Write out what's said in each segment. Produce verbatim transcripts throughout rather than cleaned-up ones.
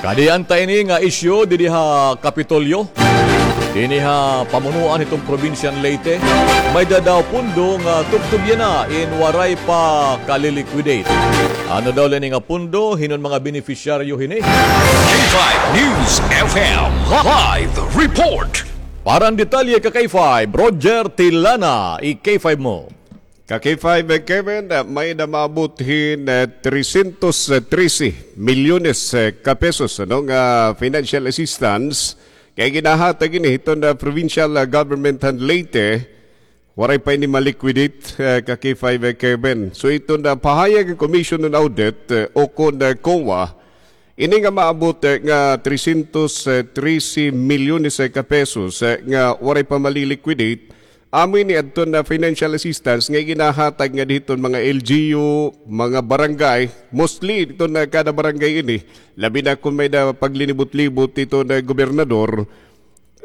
Adi anta ini nga isyu didi ha Kapitolyo. Dinhi ha pamunuan hiton probinsya han Leyte, may-ada daw pondo nga tubtob yana in waray pa kali-liquidate. Ano daw la ini nga pondo, hin-o an mga benepisyaryo hini? K five News F M live report. Para han detalye, ka K five, Roger Tilana, i-K five mo. Ka K five, eh, Kevin, eh, may-ada maabot hin, eh, trescientos trece milyones, eh, ka pesos, ano, nga financial assistance nga ginhahatag ini hiton, ah, provincial, ah, government han Leyte. Waray pa ini ma-liquidate, eh, ka K five, eh, Kevin. So, iton, ah, pahayag han Commission on Audit, eh, o kon, ah, COA, ini nga maabot, eh, nga trescientos trece milyones, eh, ka pesos, eh, nga waray pa mali-liquidate, amo ini adton, ah, financial assistance nga ginhahatag ngada hiton mga L G U, mga barangay, mostly hiton, ah, kada barangay ini, labi na kon may-ada paglinibot-libot hiton, ah, gobernador,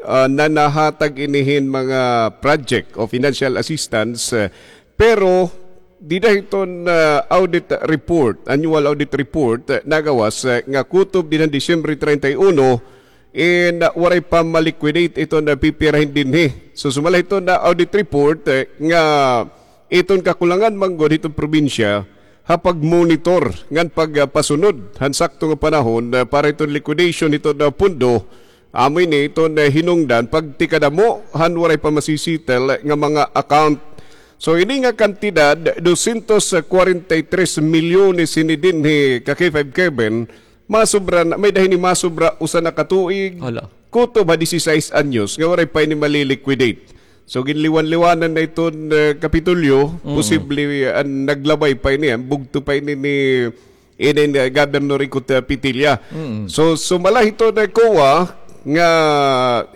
ah, nanhahatag ini hin mga project o financial assistance, eh, pero dida hiton, ah, audit report, annual audit report, eh, nagawas, eh, nga kutob dinhi han Disyembre treinta y uno, in, ah, waray pa ma-liquidate iton, ah, pipirahin dinhi. So, sumala hiton, ah, audit report, eh, nga iton kakulangan man gud hiton probinsya ha pagmonitor ngan pagpasunod han sakto nga panahon, ah, para hiton liquidation hiton, ah, pondo. Amo ini iton, ah, hinungdan pagtikadamo han waray pa masisettle nga mga account. So, ini nga kantidad, doscientos cuarenta y tres milyones ini dinhi ka K five, Kevin, masobra na, may-ada hini masobra usa na ka tuig. Hala. Kutob ha disisais anyos nga waray pa ini mali-liquidate. So, ginliwan-liwanan na iton, eh, Kapitolyo, posible, eh, an naglabay pa ini, an bugto pa ini ni, ini, eh, Governor Ikot, eh, Petilla. So, sumala hiton, eh, COA nga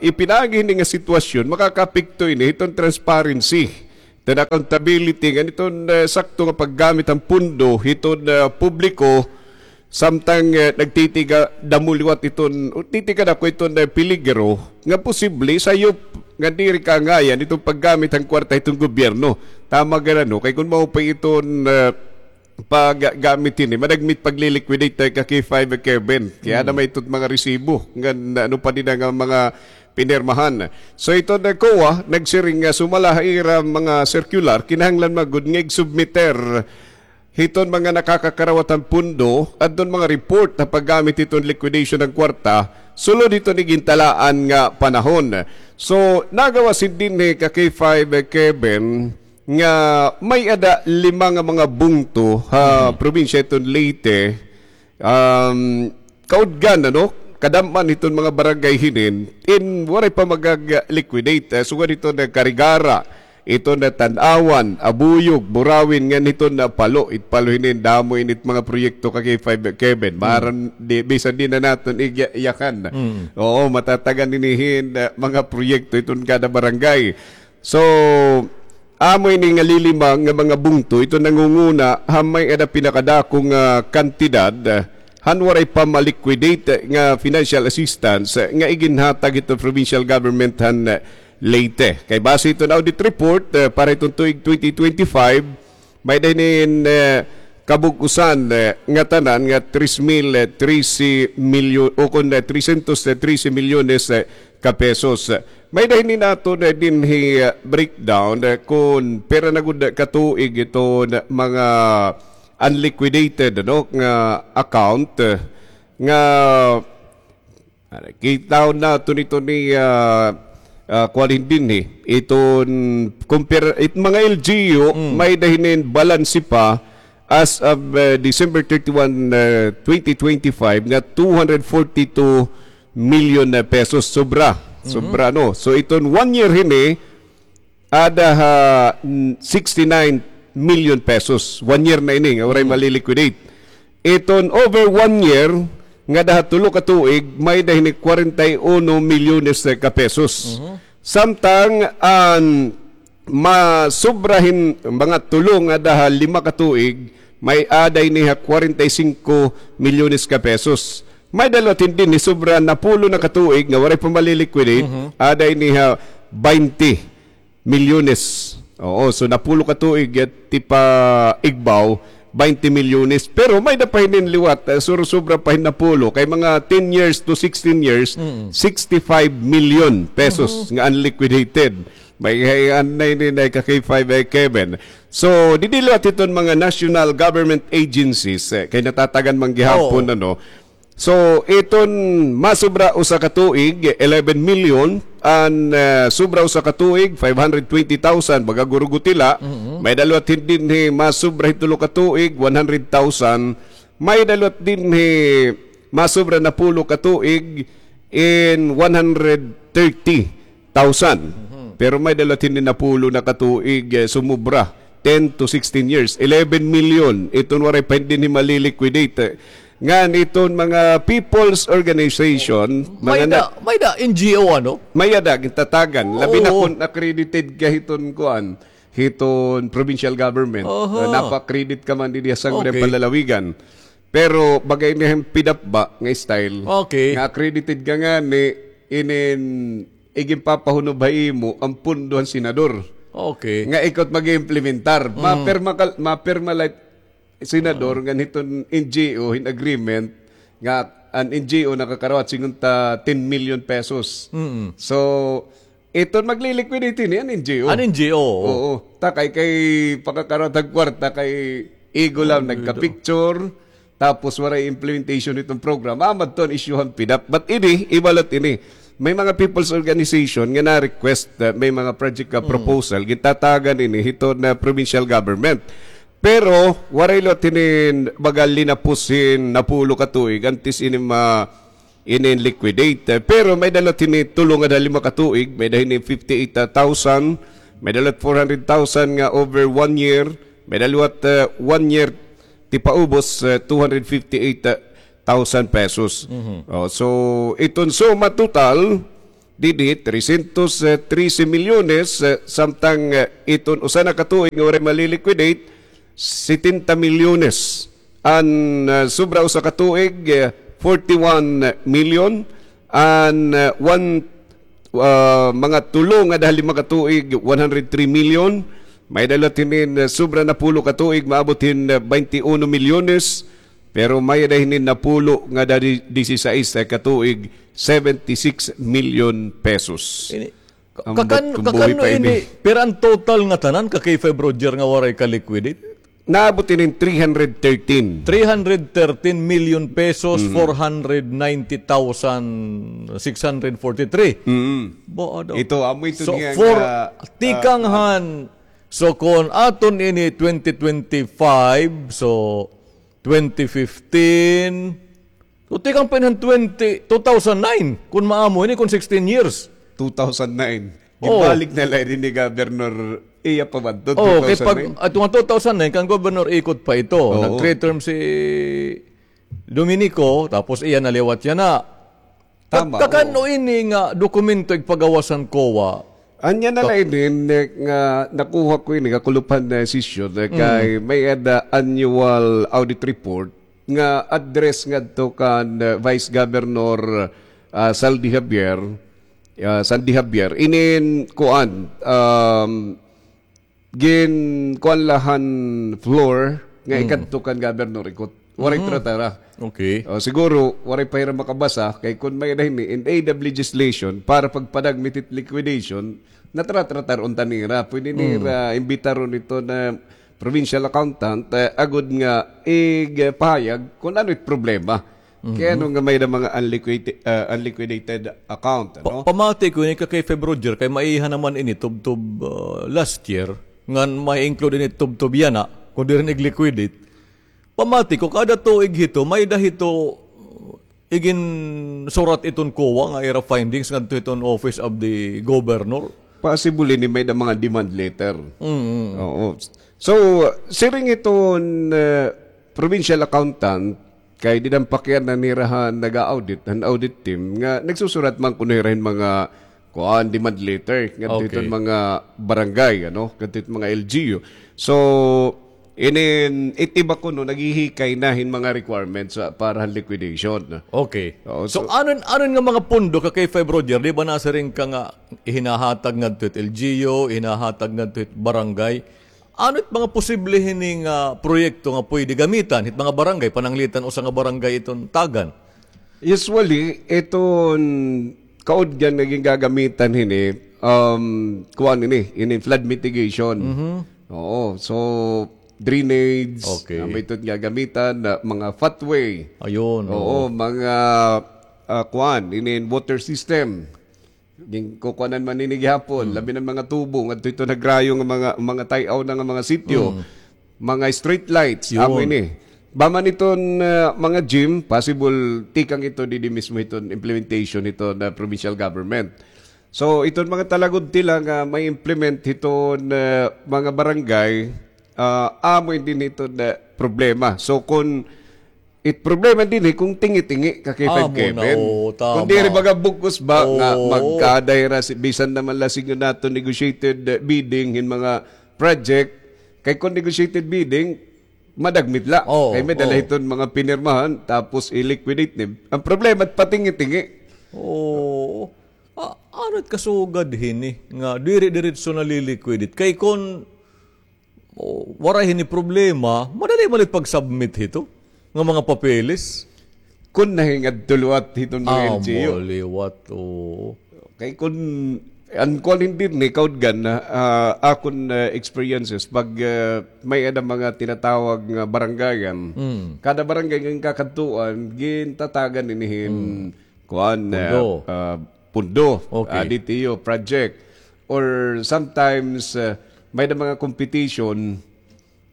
ipinaagi hini nga sitwasyon, makakaapekto ini hiton transparency, hiton accountability ngan hiton, eh, sakto nga paggamit han pondo hiton, eh, publiko, samtang, eh, nagtitikadamo liwat iton, o titikadako iton, eh, peligro nga posible sayop nga diri kaangayan iton paggamit han kwarta hiton gobyerno. Tama gad, ano, kay kon mao pa iton, eh, paggamit hini, madagmit pagli-liquidate, eh, ka K five, Kevin. Kay aada man iton mga resibo ngan ano pa dida nga mga pinirmahan. So, iton, eh, COA nagsiring nga sumala ha ira mga circular, kinahanglan man gud nga igsubmiter hiton mga nakakakarawat han pondo adton mga report ha paggamit hiton liquidation han kwarta sulod hiton igintalaan nga panahon. So, nagawas hini dinhi ka K five, eh, Kevin, nga may-ada lima nga mga bungto ha probinsya hiton Leyte, um, kaudgan, ano, kadam-an hiton mga barangay hinin in waray pa magag-liquidate, eh, sugad hiton Carigara, iton Tanauan, Abuyog, Burauen, ngan hiton Palo. It Palo hinin, damo ini it mga proyekto ka K five, Kevin. Maaram, di, bisan di na naton igya-, iyakan. Oo, matatagan ini hin, eh, mga proyekto iton kada barangay. So, amo ini nga lilima nga mga bungto, iton nangunguna ha may-ada pinakadako nga kantidad, eh, han waray pa ma-liquidate, eh, nga financial assistance, eh, nga iginhatag hiton provincial government han, eh, Leyte. Kay base hiton audit report, eh, para hiton tuig twenty twenty-five, may-ada hinin, eh, kabug-osan, eh, nga tanan nga tres mil trese milyon, o kon, eh, trescientos trese milyones, eh, ka pesos. May-ada hinin aton, eh, dinhi, eh, breakdown, eh, kon pira na gud ka tuig iton mga unliquidated, ano, nga account, eh, nga Ano, kita naton ito ni, ah, ah, kuan dinhi. Iton, compare, it mga L G U, may-ada hinin balanse pa as of, ah, December thirty-one, ah, twenty twenty-five, nga two hundred forty-two million na pesos. Sobra. Sobra, no? So, iton one year hini, ada ha, mm, sixty-nine million pesos. One year na ini nga waray mali-liquidate. Iton over one year, ngada ha tulo ka tuig, may-ada hini kwarenta y uno milyones ka pesos. Samtang an masobra hin mga tulo ngada ha lima ka tuig, may-ada ini ha kwarenta y singko milyones ka pesos. May-ada liwat hini sobra napulo na ka tuig nga waray pa mali-liquidate, ada ini ha baynte milyones. Oo, so napulo ka tuig, eh, tipaigbaw, twenty milyones. Pero may-ada pa hinin liwat, eh, surusubra pa hin napulo. Kay mga ten years to sixteen years, sixty-five million pesos nga unliquidated. May hayan na ini na ka K five, eh, Kevin. So, didi liwat hiton mga national government agencies, eh, kay natatagan man gihapon, ano. So, iton masubra usa ka tuig, eleven million, an, ah, subra usa ka tuig, five hundred twenty thousand, baga gurugutila, may-ada liwat hin dinhi masubra hin tulo ka tuig, one hundred thousand, may-ada liwat dinhi masubra napulo ka tuig, in one hundred thirty thousand. Pero may-ada liwat hini napulo na ka tuig, eh, sumubra, ten to sixteen years, eleven million. Iton waray pa dinhi mali-liquidate. Ngan iton mga people's organization, mga May-ada, na- may-ada N G O, ano? May-ada, gintatagan. Labi na Oo. Kon accredited ka hiton kuan, hiton provincial government. Oho. Uh, napa-accredit ka man didi ha Sangguniang Okay. Panlalawigan. Pero baga ini hin PDAF ba nga style. Okay. Nga accredited ka ngani, inin iginpapahunob ha imo an pondo han senador. Okay. Nga ikaw it mag-iimplementar. Mm. Mapirma ka, mapirma la it senador ngan hiton N G O hin agreement nga an N G O nakakarawat singon ta ten million pesos. Mm. So, iton magliliquidate ini an N G O. An N G O, oo. Oo. Ta kay, kay pakakarawat han kwarta kay igo la nagka-picture. Tapos waray implementation hiton program. Amo adto an issue han PDAF. But ini, iba liwat ini. May mga people's organization nga na-request, uh, may mga project, uh, proposal, gintatagan ini hiton, uh, provincial government. Pero waray liwat hinin baga linapos hin napulo ka tuig antes ini ma-, ini liquidate. Uh, pero may-ada liwat hini tulo ngada ha lima ka tuig, may-ada hini fifty-eight thousand, may-ada liwat four hundred thousand nga over one year, may-ada liwat, uh, one year tipaubos, eh, two hundred fifty-eight thousand pesos. Mhm. Oh, so, iton suma total, didi, trescientos trece milyones, eh, samtang, eh, iton usa na ka tuig nga waray mali-liquidate, setenta milyones. An, eh, sobra usa ka tuig, eh, forty-one million. An, eh, one ah, mga tulo ngada ha lima ka tuig, one hundred three million. May-ada liwat hinin, ah, sobra napulo ka tuig, maabot hin, ah, baynte uno milyones. Pero may-ada hinin napulo ngada di-, disisais ka tuig, seventy-six million pesos. Ini, ka-, kakan-, kakan-o ini, pero an total nga tanan, ka K five Roger, nga waray ka-liquidate? Naabot ini hin three hundred thirteen. Three hundred thirteen million pesos, four hundred ninety thousand six hundred forty-three. Mm. Ba, ano? Ito, amo ito niya nga, tikang han, so, kon aton ini twenty twenty-five, so, twenty fifteen, So, tikang pa ini han twenty, two thousand nine, kun maamo ini, kun sixteen years. Two thousand nine. Oo. Ginbalik na la ini ni Governor, iya pa ba ito, Oo, kay pag, two thousand nine? Ato nga two thousand nine, kan Governor Ikot pa ito. Oo. Nag-three term si Dominico, tapos iya na liwat yana. Tama, oo. Kakan-o ini nga dokumento igpagawas han COA? Anya na la ini, eh, nga nakuha ko ini, kakulop han, eh, sesyon, eh, kay may-ada annual audit report nga address ngadto kan, uh, Vice Governor, uh, Saldi Javier, uh, Sandy Javier, inin kuan, um, gin kuan la han floor nga ikadto kan Governor Ikot. Waray tratara. Okay. O, siguro, waray pa hira makabasa, kay kun may-ada hini, in aid of legislation, para pagpadagmit hit liquidation, natratratar unta nira. Pwede nira imbitaron ito na provincial accountant, eh, agod nga igpahayag kun ano it problema. Kay ano nga may-ada mga unliquid-, ah, unliquidated account, ano? Pa-, pamati ko ini ka K five Roger, kay maiha naman ini tubtob, ah, last year, ngan ma-include ini tubtob yana, kun diri na ig-liquidate. Pamati ko, kada tuig hito, may-ada hito, iginsurat iton COA nga ira findings ngadto hiton Office of the Governor. Possible ini may-ada mga demand letter. Mm. Oo. So, siring hiton, eh, provincial accountant, kay dida pakyan na nira han naga-audit, han audit team, nga nagsusurat man kuno hira hin mga kuan, demand letter, ngadto hiton mga barangay, ano, ngadto hiton mga L G U. So, inin, it iba kuno, naghihikay na hin mga requirements, ah, para han liquidation. Okay. Oo, so, so, anon, anon nga mga pondo ka K five Roger, di ba nasiring ka nga ihinahatag ngadto hit L G U, ihinahatag ngadto hit barangay? Ano it mga posible hini nga proyekto nga pwede gamitan hit mga barangay, pananglitan usa nga barangay iton tagan? Usually, iton kaudgan nga gingagamitan hini, um, kuan ini, ini flood mitigation. Mhm. Oo, so drainage, Okay. ah, may iton gagamitan na mga footway. Ayun, Oo, oo. mga, ah, kuan, ini water system. Ginkukuanan man ini gihapon, Hmm. labi na mga tubo, ngadto ito nagrayo nga mga, mga tay-aw na nga mga sitio, Hmm. mga street lights, Yun. amo ini. Ba man iton, ah, mga gym, possible tikang ito didi mismo iton implementation ito na provincial government. So, iton mga talagod tila nga may implement hiton, ah, mga barangay, ah, amo ini iton, ah, problema. So, kung It problema dinhi kung tingi-tingi ka kay Amo na, Kevin. oo, tama. Kung diri baga bug-os ba nga Oo. magkaada hira si, bisan naman la siguro nato negotiated, eh, bidding hin mga project, kay kung negotiated bidding, madagmit la. Oo, Kay may dala oo. hiton mga pinirmahan, tapos i-liquidate ni. Ang problema, patingi-tingi. Oo. A-, ano it kasugad hini nga diri diretso na liliquidate? Kay kung O, waray hini problema, madali man it pag-submit hito nga mga papeles. Kun nahingadto liwat hiton mga Ah, L G U. mo liwat, oo. Kay kun, an kuan hindi ni kaudgan na, ah, akon, ah, experiences pag, ah, may ada mga tinatawag nga barangayan. Mm. Kada barangay nga kakadtuan, gintatagan ini hin Mm. kuan, Pundo. ah, ah, pundo, Okay. ah, D T U project. Or sometimes, ah, may na mga competition,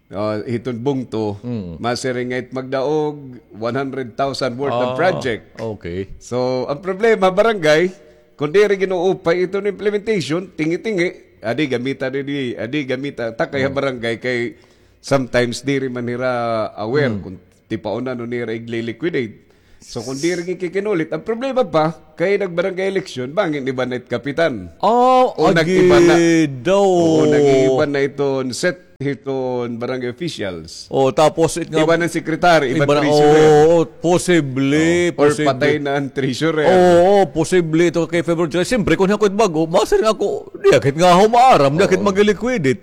ah, hiton bungto, Mm. masiring nga it magdaog one hundred thousand worth of Ah, project. okay. So, ang problema, barangay, kung diri ginuupay iton implementation, tingi-tingi, adi gamita didi, adi gamita, takay ha Mm. barangay kay sometimes diri man hira aware Mm. kung tipaon na no nira igliliquidate. So, kung diri gikikinulit, ang problema pa, kay nag-barangay election, bangin iba na it kapitan. Oh, O nag-iba na. agi daw. Oo, nag-iba na iton set hiton barangay officials. Oh, tapos it nga Iba na ang secretary, iba iba na na, treasurer. oo, posible, Oh, or posible. patay na ang treasurer. Oo, posible ito kay February. Siyempre, kung ako it bago, masir nga ako, di akit nga humaaram, di akit Oo. mag-liquidate.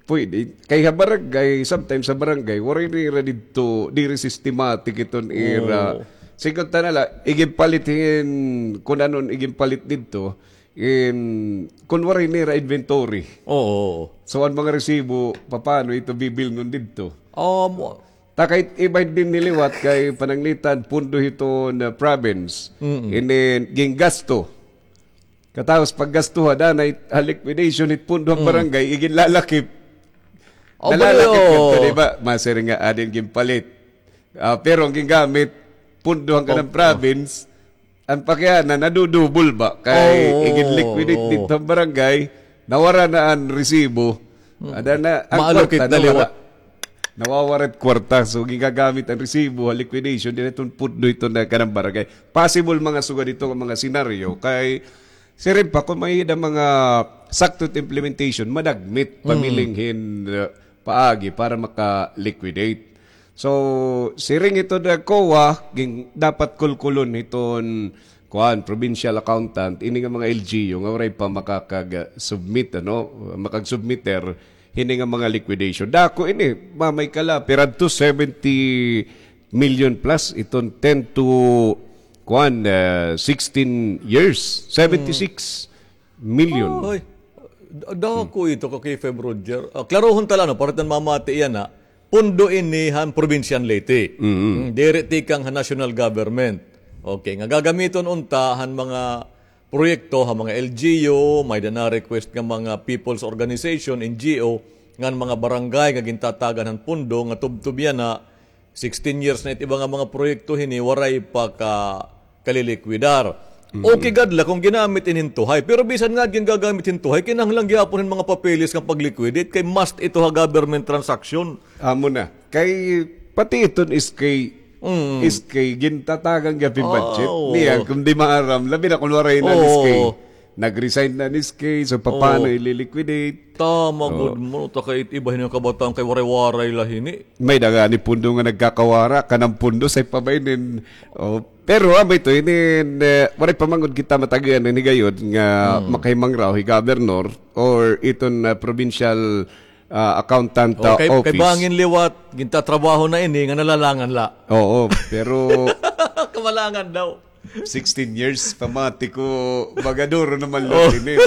Pwede. Kay ha barangay, sometimes sa barangay, waray nira didto, diri systematic iton ira. Oo. Sigot ta na la, iginpalit hin, kun ano an iginpalit didto, in, kun waray nira inventory. Oo. So, an mga resibo, papaano ito bibilngon didto? Um, Ta kay iba dinhi liwat kay pananglitan, pundo hiton province. Mm-mm. Ini, ginggasto. Katapos paggastuha, danay ha liquidation hit pundo han Mm. barangay, iginlalakip. Oh, Nalalakip bali, ngadto, oh. di ba? Masiring nga adi an ginpalit. Ah, pero an gingamit, pundo han kanang Oh, oh. province, an pakiana, nadudubol ba? Kay Oo, igin-liquidate oo. didto han barangay, nawara na an resibo. Mm. Ada na, an Maalokit kwarta, na nawara. liwat. Nawawara it kwarta. So, gigagamit an resibo ha liquidation, diri iton pundo iton na kanang barangay. Possible mga sugad ito nga mga senaryo. Kay, siring pa, kung may-ada mga sakto it implementation, madagmit, Mm. pamiling hin, uh, paagi para maka-liquidate. So, siring ito na COA, ging-, dapat kulkulon hiton, kuan, provincial accountant, ini nga mga L G U nga waray pa makakag-submit, ano, makag-submitter hini nga mga liquidation. Dako ini, mamay kala, pero adto seventy million plus iton ten to, kuan, uh, sixteen years, seventy-six million. Oy, da-, dako ito ka kay Feb Roger. Ah, klarohon ta la, no, para ta mamati yana. Pundo ini han probinsya han Leyte. Mm. Mm, diri tikang han national government. Okay, nga gagamiton unta han mga proyekto, han mga L G U, may-ada na request nga mga people's organization, N G O, ngan mga barangay nga gintatagan han pundo nga tubtob yana, sixteen years na it iba nga mga proyekto hini, waray pa ka kalilikwidar. Mm. Okay gad la kung ginamit ini hin tuhay. Pero bisan nga gingagamit hin tuhay, kinahanglan gihapon hin mga papeles nga pag-liquidate kay must ito ha government transaction. Amo na. Kay pati iton S K, Mm. S K, gintatagan gihap hin budget. Oo. Niya, kung di maaram, labi na kung waray na Oo. S K. Nag-resign na an S K, so paano Oo. ililiquidate? Tama Oo. gud mo, ta kay iba hini nga kabataan kay waray-waray la hini. May-ada ngani pundo nga nagkakawara, kanang pundo sa ipabainin. Oh, pero, ah, amo ito, inin, eh, waray pa man gud kita matagan hin higayon nga Hmm. makahimangraw hi governor or iton, ah, provincial, ah, accountant, Oh, ah, kay, kay office. Bangin liwat, gintatrabaho na ini, nga nalalangan la. Oo, pero Kamalangan daw. Sixteen years, pamati ko, baga duro naman la ini.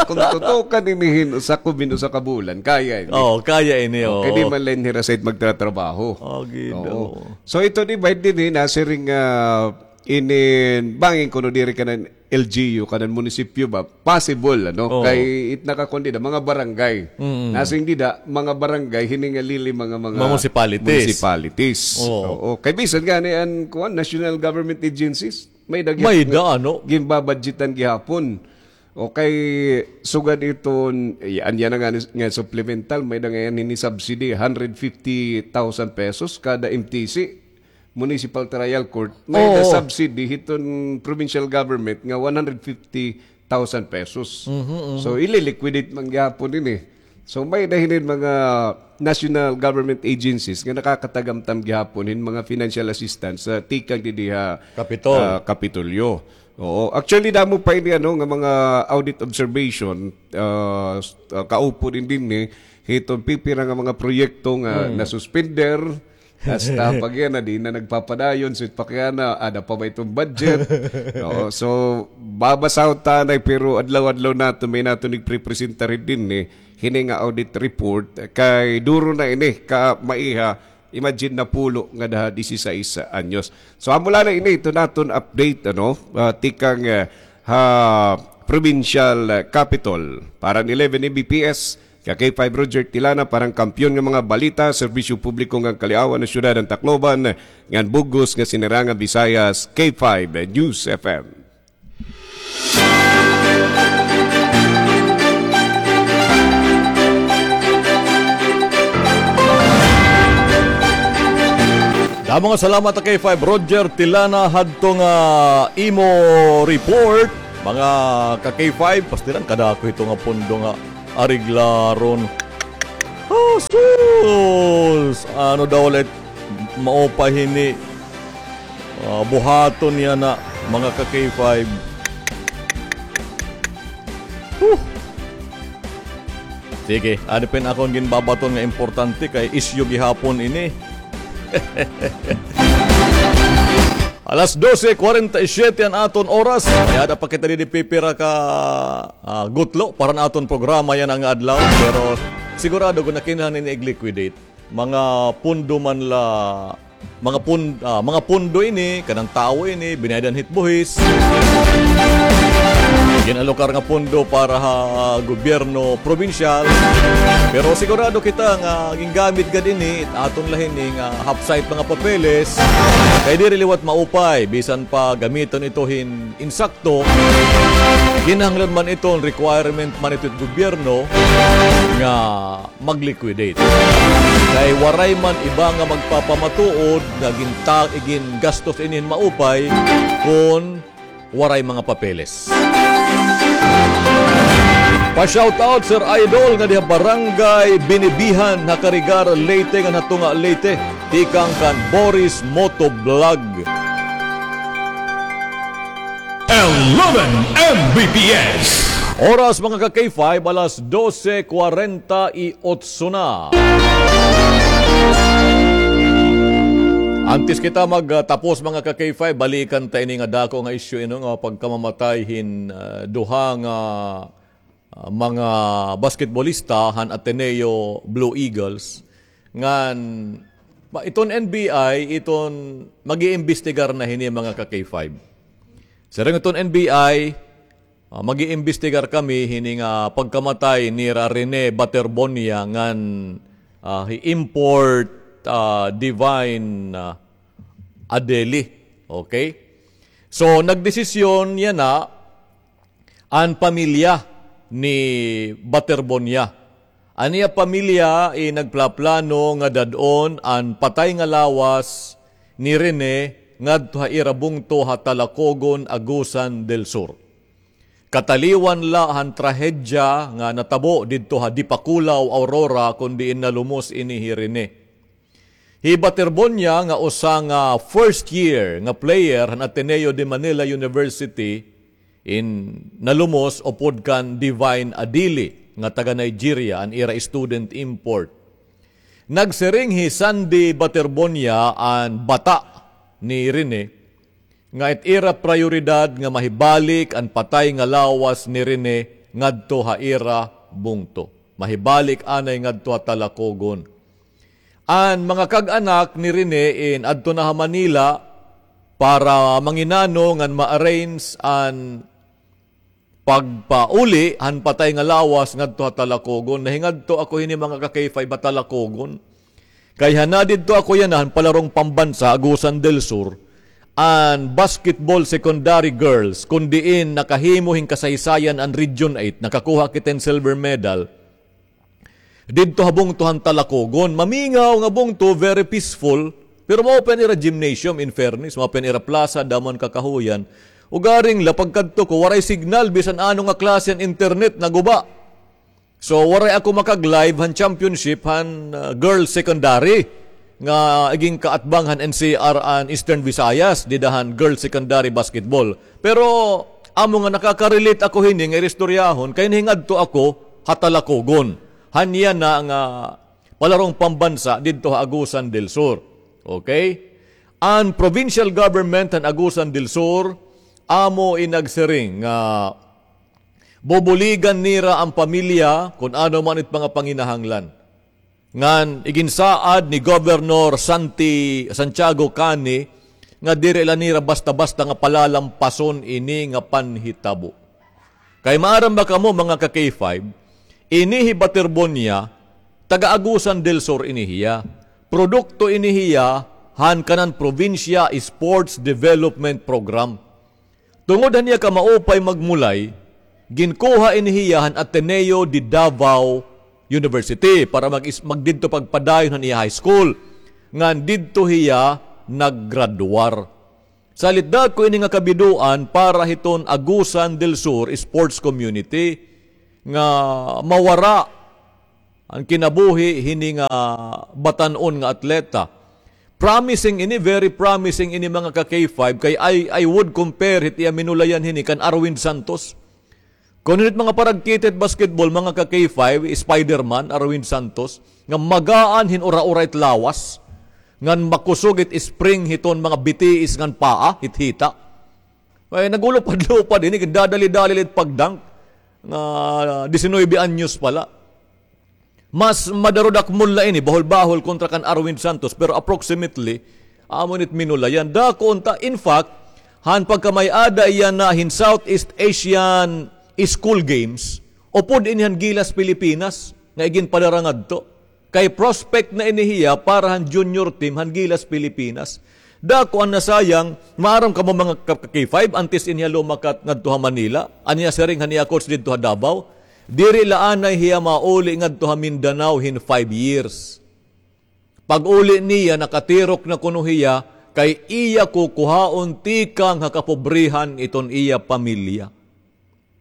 Kung tutukan ini hin usa ko bin usa ka bulan, kaya ini. Oo, kaya ini, oo. Kay di man la ini hira side magtratrabaho. Ah, Ginoo. Oo. So, ito ni Biden, eh, nasiring, ah, inin, bangin kuno diri kanan L G U, kanan munisipyo ba? Possible, ano? Oo. Kay it nakakuan dida, mga barangay. Mm. Nasiring dida, mga barangay, hini nga lili, mga, mga Mga municipalities. municipalities. Oo. Oo. Kay bisan gani an, kuan, national government agencies, may-ada gihap May-ada, nga ano? ginbabudgetan gihapon. O kay sugad iton, eh, an yana nga, nga supplemental, may-ada nga yana ini subsidy, hundred fifty thousand pesos kada M T C, Municipal Trial Court, may-ada Oo. subsidy hiton provincial government nga one hundred fifty thousand pesos. Mhm, mhm. So, ililiquidate man gihapon ini. So, may-ada hinin mga national government agencies nga nakakatagamtam gihapon hin mga financial assistance sa tikang didi ha, Kapitol. ah, Kapitolyo. Oo. Actually, damo pa ini, ano, nga mga audit observation, ah, s-, ah, kaupo din dinhi, hiton pipira nga mga proyekto nga Hmm. nasuspender, hasta pag yana, di na nagpapadayon, so pag yana, ada pa ba iton budget? Oo. So, babasahon ta anay, pero adlaw-adlaw naton, may naton igprepresentar dinhi, hini nga audit report, kay duro na ini, ka maiha, Imagine, napulo ngada ha dieciséis anyos. So, amo la na ini, ito naton update, ano, ah, tikang, ah, ha provincial, ah, capitol. Para han eleven M B P S, ka K five Roger Tilana, para han kampiyon nga mga balita, serbisyo publiko ngan kaliawan han syudad han Tacloban, ngan bug-os nga sinirangan Visayas, K five News F M. Damo nga salamat, K five Roger Tilana, hadto nga imo report. Mga ka K five, pastilan, kadako ito nga pundo nga areglaron. Ah, sus! Ano daw ulit? Maupay hini. Ah, buhaton yana, mga ka K five. Huh! Sige, ano pa in akon ginbabaton nga importante kay isyu gihapon ini. Alas dose kwarenta y siyete an aton oras. May-ada pa kita didi pipira ka, ah, gutlo para han aton programa yana nga adlaw. Pero sigurado ko nga kinahanglan ini i-liquidate. Mga pundo man la, mga pun-, ah, mga pundo ini, kanan tawo ini, binayad han hit buhis. Gin-alokar nga pundo para ha gobyerno probinsyal. Pero sigurado kita nga gingamit gad ini, it aton la hini nga half-site mga papeles. Kay diri liwat maupay, bisan pa gamiton ito hin insakto, kinahanglan man iton requirement man ito it gobyerno nga mag-liquidate. Kay waray man iba nga magpapamatuod nga ginta-, gingastos ini hin maupay kon waray mga papeles. Pa-shoutout, Sir Idol, nga diha Barangay Binibihan, ha Carigar, Leyte, ngan ha Tunga, Leyte. Tikang kan Boris Motovlog. Eleven M B P S. Oras, mga ka K five, alas dose kwarenta y otso na. Antes kita magtapos, mga ka K five, balikan ta ini nga dako nga isyu, ino, nga pagkamamatay hin, ah, duha nga, ah, mga basketbolista han Ateneo Blue Eagles. Ngan, ma-, iton N B I, iton mag-iimbestigar na hini, mga ka K five. Siring iton N B I, ah, mag-iimbestigar kami hini nga pagkamatay nira Rene Baterbonia ngan, ah, hi Import, ah, Divine, ah, Adeli. Okay? So, nagdesisyon yana an pamilya ni Baterbonia. An iya pamilya, eh, nagplaplano nga dad-on an patay nga lawas ni Rene ngadto ha ira bungto ha Talacogon, Agusan del Sur. Kataliwan la han trahedya nga natabo didto ha Dipakulaw, Aurora, kon diin nalumos ini hi Rene. Hi Baterbonia nga usa nga first year nga player han Ateneo de Manila University in nalumos upod kan Divine Adili. nga taga Nigeria, an ira student import. Nagsiring hi Sandy Baterbonia, an bata ni Rene, nga it ira prayoridad nga mahibalik an patay nga lawas ni Rene ngadto ha ira bungto. Mahibalik anay ngadto ha Talacogon. An mga kag-anak ni Rene in adto na ha Manila para manginano ngan ma-arrange an pagpauli han patay nga lawas ngadto ha Talacogon. Nahingadto ako hini, mga ka-K five, ha Talacogon. Kay han didto ako yana han palarong pambansa, Agusan del Sur, an basketball secondary girls, kun diin nakahimo hin kasaysayan an Region eight, nakakuha kita hin silver medal. Didto ha bungto han Talacogon, mamingaw nga bungto, very peaceful. Pero mao pa an ira gymnasium, in fairness, mao pa an ira plaza, damo han kakahuyan. Ugaring la, pagkadto ko, waray signal, bisan ano nga klase han internet, naguba. So, waray ako makag-live han championship han, ah, girls secondary nga igin kaatbang han N C R an Eastern Visayas, dida han girls secondary basketball. Pero amo nga nakaka-relate ako hini nga ira istoryahon kay nahingadto ako ha Talacogon. Han yana nga palarong pambansa didto ha Agusan del Sur. Okay? An provincial government han Agusan del Sur amo in nagsiring nga bubuligan nira an pamilya kun ano man it mga panginahanglan. Ngan iginsaad ni Governor Santi-, Santiago Cani nga diri la nira basta-basta nga palalampason ini nga panhitabo. Kay maaram ba kamo, mga ka-K five, ini hi Baterbonia, taga Agusan del Sur ini hiya. Produkto ini hiya han kanan probinsya Sports Development Program. Tungod han iya kamaupay magmulay, ginkuha ini hiya han Ateneo de Davao University para mag-, magdidto pagpadayon han iya high school. Ngan didto hiya naggraduar. Salit dako ini nga kabidoan para hiton Agusan del Sur sports community nga mawara an kinabuhi hini nga batan-on nga atleta. Promising ini, very promising ini, mga ka-K five, kay I, I would compare hit iya minulayan hini kan Arwin Santos. Kun hit mga paragkita hit basketball, mga ka-K five, Spider-Man, Arwin Santos, nga magaan hin ura-ura it lawas, ngan makusog it spring hiton mga bitiis ngan paa, hit hita. Ay, nagulupad-lupad ini, dadali-dali it pag-dunk, nga disinuybe anyos pa la. Mas madarudakmol la ini, bahul-bahul kontra kan Arwin Santos, pero approximately, amo ini it minulayan. Dako unta, in fact, han pagkamay-ada yana hin Southeast Asian School Games, upod ini han Gilas Pilipinas, nga iginpadara ngadto. Kay prospect na ini hiya para han junior team han Gilas Pilipinas. Dako an nasayang, maaram kamo mga ka-, ka-K five, antes ini hiya lumakat ngadto ha Manila, an iya siring han iya coach didto ha Davao, diri la anay hiya mauli ngadto ha Mindanao hin five years. Pag-uli niya, nakatirok na kuno hiya, kay iya kukuhaon tikang ha kapobrehan iton iya pamilya.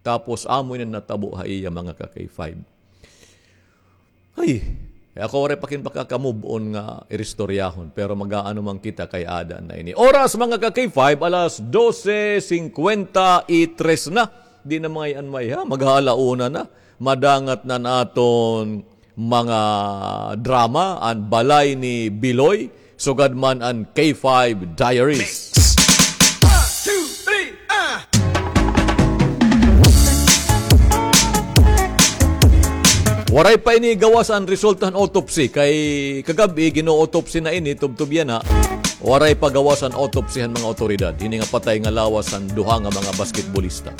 Tapos amo ini natabo ha iya, mga ka-K five. Ay, eh, ako waray pa kin pagkakamove-on nga iristoryahon, pero mag-aano man kita kay ada na ini. Oras, mga ka-K five, alas dose cincuenta y tres na. Di na mga iyan may, ha, mag-aala una na. Madangat na naton mga drama, an Balay ni Biloy, sugad man an K five Diaries. One, two, three, ah! Waray pa ini gawas an resulta han autopsy, kay kagab-i gin-autopsy na ini, tubtob yana. Waray pa gawas an autopsy han mga awtoridad hini nga patay nga lawas han duha nga mga basketbolista.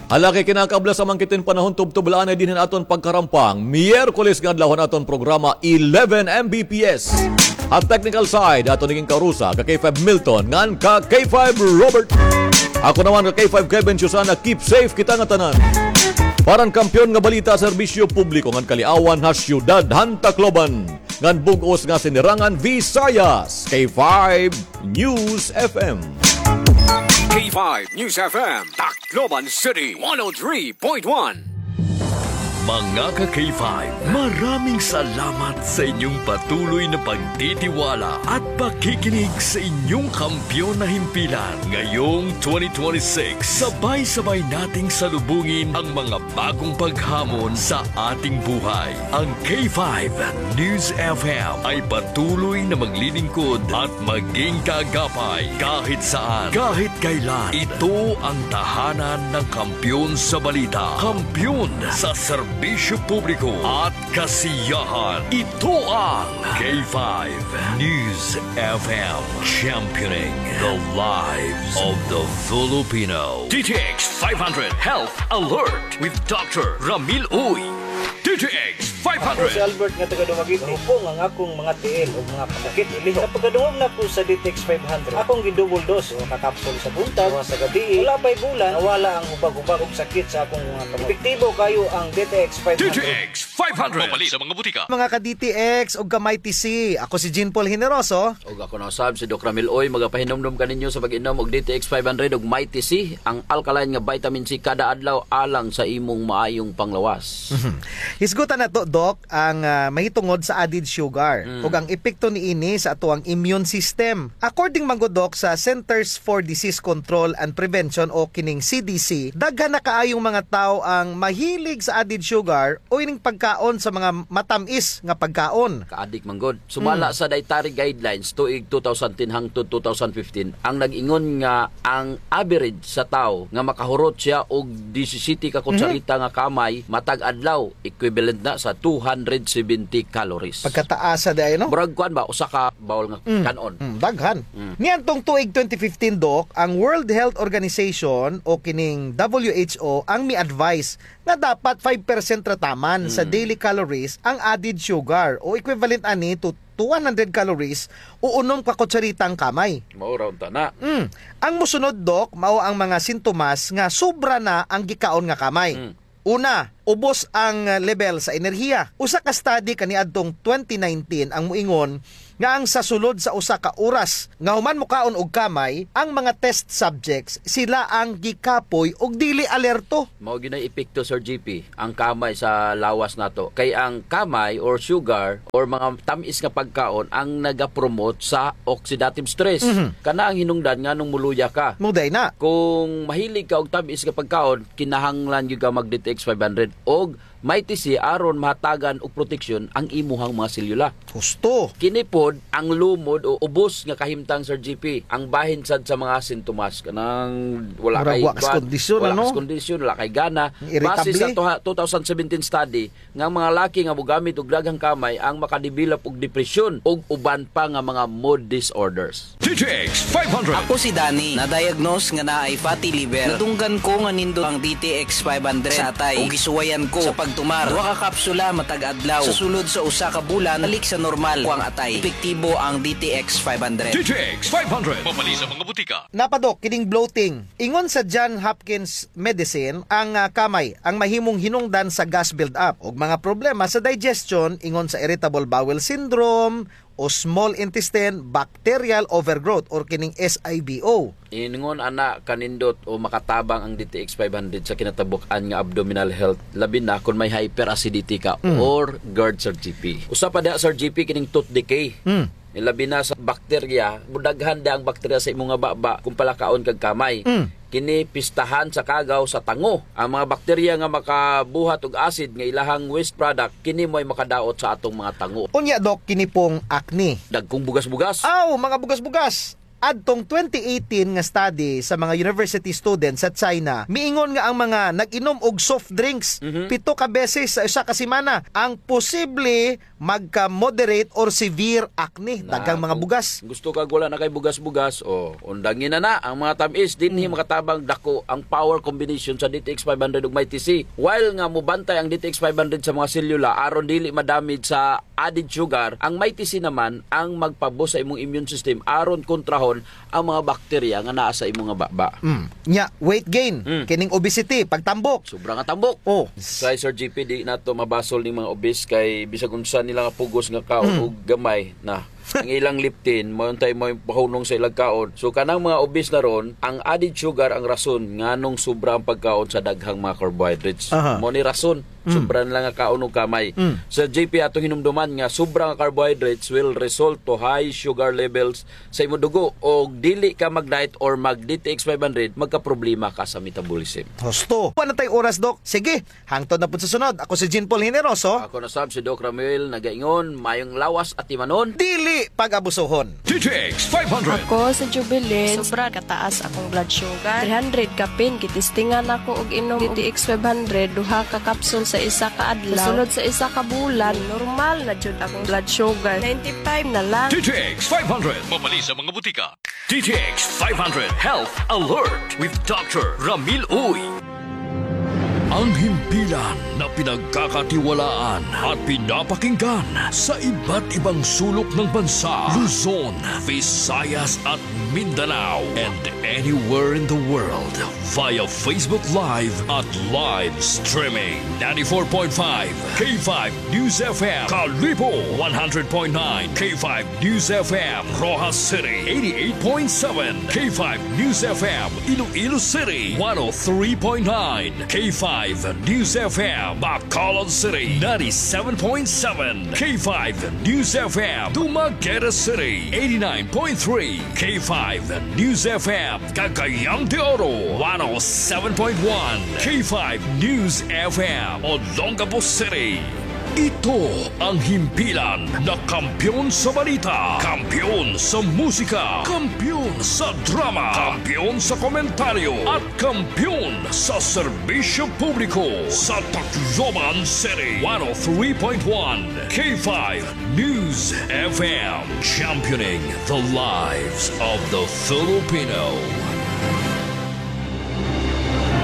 Hala, kay kinakablas man kita hin panahon, tubtob la anay dinhi an aton pagkarampang. Miyerkules nga adlaw han aton programa, eleven M B P S. Ha technical side, aton nagin kaurusa, ka K five Milton, ngan ka K five Robert. Ako naman, ka K five Kevin Susana, keep safe kita ngatanan. Para han Kampiyon nga Balita, Serbisyo Publiko ngan Kaliawan ha Syudad han Tacloban ngan bug-os nga Sinirangan Visayas, K five News F M. K five News F M, Tacloban City, one oh three point one. Mga ka-K five, maraming salamat sa inyong patuloy na pagtitiwala at pakikinig sa inyong kampiyon na himpilan. Ngayong twenty twenty-six, sabay-sabay nating salubungin ang mga bagong paghamon sa ating buhay. Ang K five News F M ay patuloy na maglilingkod at maging kaagapay kahit saan, kahit kailan. Ito ang tahanan ng kampiyon sa balita, kampiyon sa serbisyo publiko at kasiyahan. Ito ang K five News F M, championing the lives of the Filipino. D T X five hundred Health Alert with Doctor Ramil Uy. D T X five hundred. Ako si Albert nga taga Dumaguete. Hupong ang akong mga tiil ug mga sakit ilihok. Sa pagkadungog nako sa D T X five hundred, akong gi-double dose, usa ka kapsul sa buntag, usa sa gabii. Wala pa'y bulan, nawala ang hubag-hubag ug sakit sa akong mga kamot. Epektibo kaayo ang D T X five hundred. D T X five hundred. Mapalit sa mga butika. Mga ka-D T X ug ka-Mighty C, ako si Jean Paul Generoso. Ug ako na usab si Doc Ramil Uy, magapahinumdom kaninyo sa pag-inom og D T X five hundred ug Mighty C, ang alkaline nga vitamin C kada adlaw alang sa imong maayong panglawas. Mhm. Hisgutan nato, Doc, ang, ah, mahitungod sa added sugar ug ang epekto niini sa atoang immune system. According man gud, Doc, sa Centers for Disease Control and Prevention o kining C D C, daghan na kaayong mga tawo ang mahilig sa added sugar o ining pagkaon sa mga matam-is nga pagkaon. Kaadik man gud. Sumala sa dietary guidelines tuig two thousand ten hangtod two thousand fifteen, ang nag-ingon nga ang average sa tawo nga makahurot siya og disisiti ka kutsarita nga kamay matag adlaw, equivalent na sa two hundred seventy calories. Pagkataasa diay, no? Murag kuan ba, usa ka bowl nga kan-on. Mm, daghan. Mm. Niadtong tuig twenty fifteen, Doc, ang World Health Organization o kining W H O ang mi-advise nga dapat five percent ra taman sa daily calories ang added sugar o equivalent ani to two hundred calories o unom ka kutsaritang kamay. Mao ra unta na. Mm. Ang mosunod, Doc, mao ang mga sintomas nga sobra na ang gikaon nga kamay. Mm. Una, ubos ang, ah, level sa enerhiya. Usa ka study kaniadtong twenty nineteen ang moingon nga ang sa sulod sa usa ka oras nga human mokaon og kamay, ang mga test subjects, sila ang gikapoy ug dili alerto. Mao gyud nay epekto, Sir G P, ang kamay sa lawas nato. Kay ang kamay or sugar or mga tam-is nga pagkaon ang nagapromote sa oxidative stress. Mhm. Kana ang hinungdan nganong moluya ka. Mao diay na. Kung mahilig ka og tam-is nga pagkaon, kinahanglan gyud ka mag D T X five hundred og Mighty C aron mahatagan og proteksyon ang imuhang mga selyula. Husto. Kini pod ang lumod o ubos nga kahimtang, Sir G P, ang bahin sad sa mga sintomas. Kanang wala kay kondisyon, wala kay gana. Base sa two thousand seventeen study, nga ang mga laki nga mogamit og daghang kamay ang makadevelop og depresyon ug uban pa nga mga mood disorders. D T X five hundred. Ako si Danny. Na-diagnose nga naay fatty liver. Nadunggan ko nga nindot ang D T X five hundred sa atay. Ug gisuwayan ko sa pagtumar. Duha ka kapsula matag adlaw. Sa sulod sa usa ka bulan, balik sa normal ko ang atay. Epektibo ang D T X five hundred. D T X five hundred. Mapalit sa mga butika. Napa, Doc, kining bloating. Ingon sa John Hopkins Medicine, ang, ah, kamay ang mahimong hinungdan sa gas build-up ug mga problema sa digestion, ingon sa irritable bowel syndrome, o small intestine bacterial overgrowth or kining S I B O. Ingon ana kanindot o makatabang ang D T X five hundred sa kinatabuk-an nga abdominal health, labi na kon may hyperacidity ka or GERD, Sir G P. Usa pa diha, Sir G P, kining tooth decay. Labi na sa bakterya, mudaghan diha ang bakterya sa imo nga baba kung palakaon kag kamay. Kini pistahan sa kagaw sa tango. Ang mga bakterya nga makabuhat og acid nga ilahang waste product, kini mo'y makadaot sa atong mga tango. Unya, Doc, kini pong acne. Dagkong bugas-bugas. Aw, mga bugas-bugas. Adtong twenty eighteen nga study sa mga university students sa China, miingon nga ang mga nag-inom og soft drinks pito ka beses sa usa ka semana ang posible magka-moderate or severe acne. Daghang mga bugas. Gusto kag wala na kay bugas-bugas, o, undangi na na ang mga tam-is. Dinhi makatabang dako ang power combination sa D T X five hundred ug Mighty C. While nga mobantay ang D T X five hundred sa mga selyula aron dili ma-damage sa added sugar, ang Mighty C naman ang magpaboost sa imong immune system aron kontrahon ang mga bakterya nga naa sa imo nga baba. Mm. Nya, weight gain, kining obesity, pagtambok. Sobra nga tambok. Oh. Say, Sir G P, di nato mabasol ning mga obese kay bisag unsa nila nga pugos nga kaon og gamay na Ang ilang leptin, mao untay maoy pahunong sa ilang kaon. So, kanang mga obese na ron, ang added sugar ang rason nganong sobra ang pagkaon sa daghang mga carbohydrates. Aha. Mao ni rason, mm, sobra na lang nga kaon og kamay. Mm. Sir J P, atong hinumduman nga sobra nga carbohydrates will result to high sugar levels sa imo dugo. Og dili ka mag-diet or mag-D T X five hundred, magkaproblema ka sa metabolism. Husto. Wala na tay oras, Doc. Sige, hangtod na pud sa sunod. Ako si Jean Paul Generoso. Ako na sab si Doc Ramuel, nagaingon, mayong lawas atimanon. Dili pag-abusohon. D T X five hundred. Ako si Jubilin. Sobra kataas akong blood sugar. Three hundred kapin, gitistingan ako og inom D T X five hundred, duha ka kapsul sa isa ka adlaw. Sa sulod sa isa ka bulan, normal na jud akong blood sugar. Ninety-five na lang. D T X five hundred. Mapalit sa mga butika. D T X five hundred Health Alert with Doctor Ramil Uy. Ang himpilan na pinagkakatiwalaan at pinapakinggan sa iba't ibang sulok ng bansa, Luzon, Visayas at Mindanao, and anywhere in the world via Facebook Live at live streaming. Ninety-four point five K five News F M, Kalibo, one hundred point nine K five News F M, Roxas City, eighty-eight point seven K five News F M, Iloilo City, one oh three point nine K five News F M, Bacolod City, ninety-seven point seven K five News F M, Dumaguete City, eighty-nine point three K five News F M, Cagayan de Oro, one oh seven point one K five News F M, Olongapo City. Ito ang himpilan na kampiyon sa balita, kampiyon sa musika, kampiyon sa drama, kampiyon sa komentaryo, at kampiyon sa serbisyo publiko sa Tacloban City. One oh three point one K five News F M, championing the lives of the Filipino.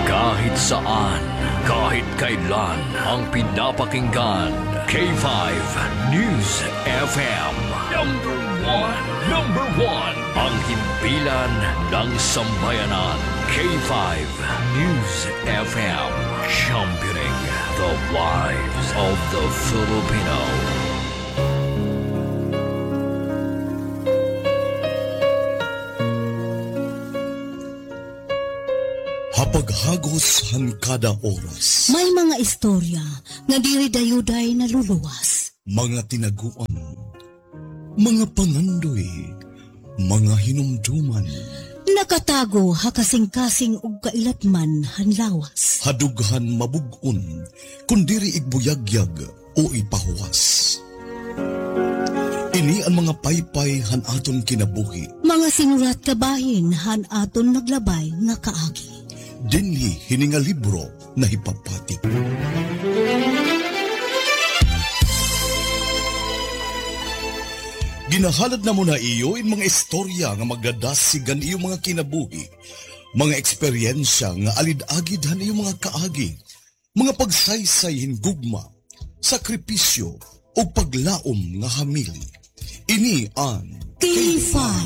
Kahit saan, kahit kailan, ang pinapakinggan, K five News F M. Number one, number one, ang himpilan ng sambayanan, K five News F M, championing the lives of the Filipino. Ha paghagos han kada oras. May mga istorya nga diri dayuday naluluwas. Mga tinaguan, mga pangandoy, mga hinumduman. Nakatago ha kasingkasing ug kailatman han lawas. Ha dughan mabug-on, kon diri igbuyagyag o ipahuwas. Ini an mga paypay han aton kinabuhi. Mga sinurat kabahin han aton naglabay nga kaagi. Dinhi hini nga libro nahipapati. Ginahalad namon ha iyo in mga istorya nga magdadasig han iyo mga kinabuhi, mga eksperyensya nga alid-agid han iyo mga kaagi, mga pagsaysay hin gugma, sakripisyo, ug paglaom nga hamili. Ini an K five.